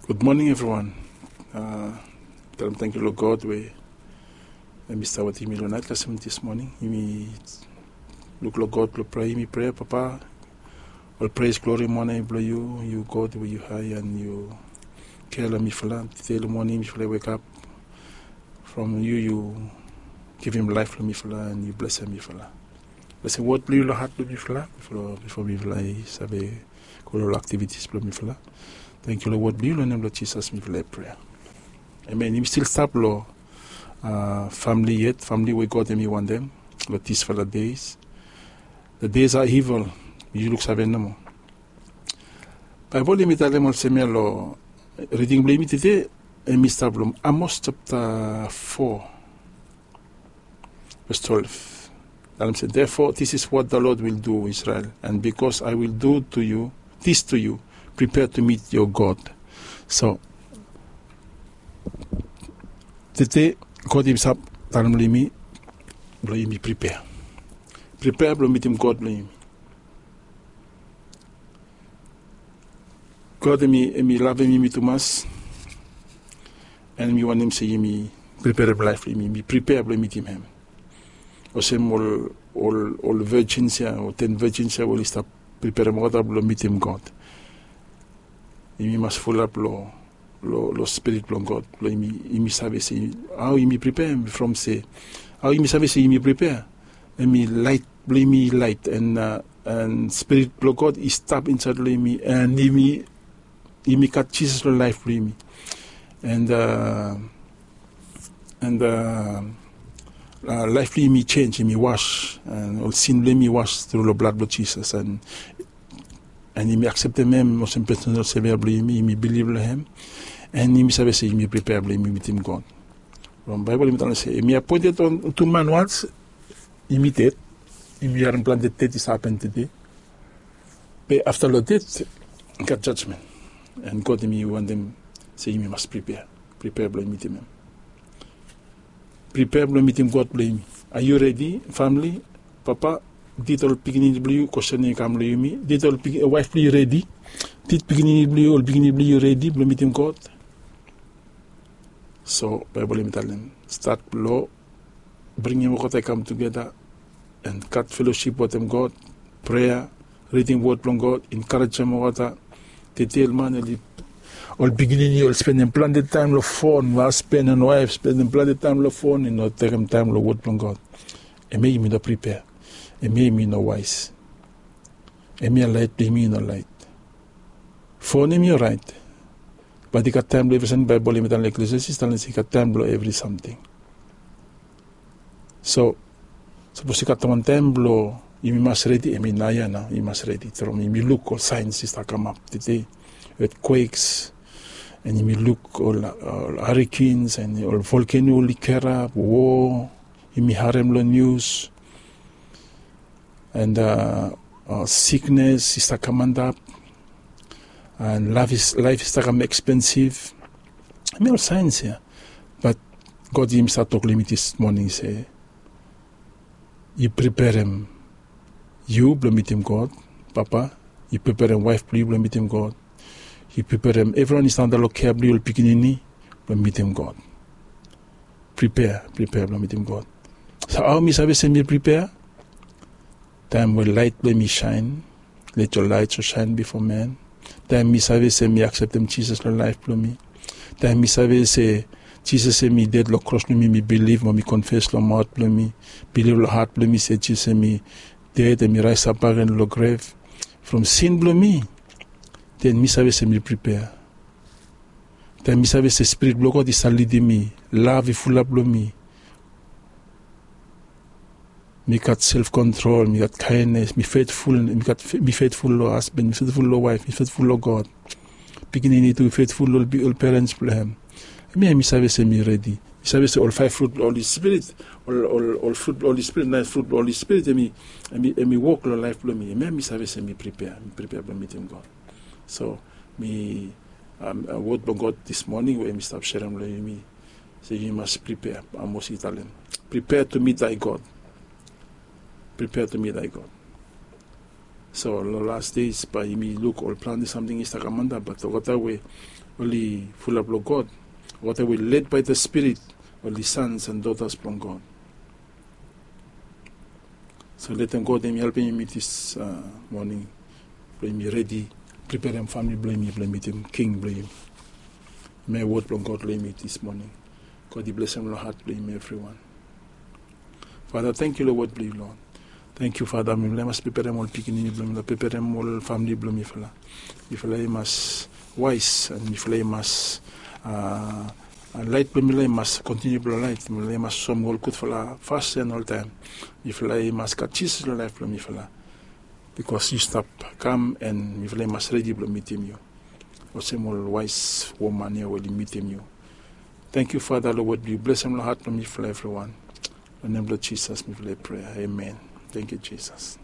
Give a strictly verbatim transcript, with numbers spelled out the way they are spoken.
Gud moning evriwan. Talem tangkiu long God we em i stap wetem yumi long nait kasem dis moning. Yumi luk long God blong prea yumi prea, Papa. Ol pres, glori, mone blong yu, yu God we yu hae, an yu kea long mifala. Tede long moning mifala i wekap from yu, yu givim laef long mifala an yu blesem mifala. Blesem wod blong yu long hat blong mifala bifo mifala i save go long ol aktivitis blong mifala. Tangkiu long wod blong yu, long nem blong Jisas mifala i prea. Amen. Yumi stil stap long famili yet, famili we God em i wantem long disfala days. The days are evil. Yu luksave nomo. Baebol em i talem olsem ya long riding blong yumi tede, em i stap long Amos japta fo, ves twelve. Talem se, therefore this is what the Lord will do, Israel, and because I will do to you this to you, prepare to meet your God. So tede God i stap talem long yumi blong yumi pripea. Pripea blong mitim God blong yumi. God em i lavem yumi tumas, an em i wantem se yumi priperem laef blong yumi, yumi pripea blong mitim hem. Olsem ol ol ol vejins ya o ten vejins ya we oli stap priperem olgeta blong mitim God. Yumi mas fulap long long spirit blong God blong yumi save se hao yumi pripea, from se hao yumi save se yumi pripea. Em i lait blong yumi i lait, an spirit blong God i stap insaed long yumi, an yumi gat Jisas long laef blong yumi. An an laef blong yumi i jenj, yumi was, an ol sin blong yumi i was tru long blad blong Jisas, an yumi akseptem hem olsem pesonal sevia blong yumi, yumi bilif long hem, an yumi save se yumi pripea blong yumi mitim God. From Baebol yumi talem se em i apoented on tu man wans yumi ded. Yumi harem plante ded i stap hapen tede. Be afta long ded i gat jajmen. An God em i wantem se yumi mas pripea, pripea blong mitim hem. Pripea blong mitim God blong yumi. Are yu redi, famili? Papa, did ol pikinini blong yu, kwestin i kam long yumi, did ol waef blong yu redi? Did pikinini blong yu, ol pikinini blong yu redi blong mitim God? So Baebol em i talem, stat long bringim olgeta i kam tugeta an gat felosip wetem God, prea, ridim wod blong God, enkarejem olgeta. Tede ol man, ol pikinini ol spendem plante taem long fon, hasben an waef spendem plante taem long fon, i no tekem taem long wod blong God. Hemia yumi no pripea. Hemia yumi no waes. Hemia laet blong yumi i no laet. Fon hemi oraet, bat i gat taem blong evri samting. Baebol hemi talem long Eklesiastis, talem se i gat taem blong evri samting. So sapos i gat wan taem blong yumi mas redi, hemi naoia nao yumi mas redi. From yumi luk ol saens i stap kamap tede, etkweks, an yumi luk ol harikens an ol volkeno oli kerap, wo yumi harem long nius, an siknes i stap kam antap, an laef i stap kam ekspensif. Hemi ol saens ya. Bat God yumi stap tok long yumi dis moning se yu priperem yu blong mitim God, papa. Yu priperem waef blong yu blong mitim God. Yu priperem evriwan i stap antap long kea blong yu, ol pikinini, blong mitim God. Pripea, pripea blong mitim God. So hao mi save se mi pripea? Taem we laet blong mi saen, let your light so shine before men. Taem mi save se mi akseptem Jisas long laef blong mi, taem mi save se Jisas hemi ded long kros blong mi, mi bilif mo mi konfes long maot blong mi, bilif long hat blong mi se Jisas hemi ded an mi raesap bakegen long grev from sin blong mi, den mi save se mi pripea. Taem mi save se Spirit blong God i stap lidim mi, lav i fulap long mi, mi gat self kontrol, mi gat kaenes, mi fetful, mi fetful long hasben, mi fetful long waef, mi fetful long God. Pikinini tu i fetful long ol perens blong hem. Hemia mi save se mi redi. Mi save se ol faef frut blong Holi Spirit, ol frut blong Holi Spirit, naen frut blong Holi Spirit, hemi wok long laef blong mi. Hemia mi save se mi pripea, mi pripea blong mitim God. So mi wod blong God dis moning we mi stap serem long yumi se yumi mas pripea. Amos i talem, prepare to meet thy God. Prepare to meet thy God. So long las des bae yumi luk ol plante samting i stap kam antap, bat olgeta we oli fulap long God, olgeta we led by the Spirit, oli sons and daughters blong God. So letem God yumi helpem yumi dis moning blong yumi redi preperem famili blong yumi blong mitim King blong yumi. Yumi wod blong God long yumi dis moning. God i blesem long hat blong yumi evriwan. Fada, tangkiu long wod blong yu, Lord. Tangkiu, Fada, mifala i mas preperem ol pikinini blong mifala, preperem ol famili blong mifala. Mifala i mas wais, and mifala i mas, lait blong mifala i mas kontiniu blong lait. Mifala i mas soem ol gudfala fasin oltaem. Mifala i mas gat Jisas long laef blong mifala. Bikos yu stap kam, and mifala i mas redi blong mitim yu olsem ol wais woman ya we oli mitim yu. Tangkiu, Fada, long wod blong yu. Blesem long hat blong mifala evriwan. Long nem blong Jisas mifala i prea. Amen. Tangkiu, Jisas.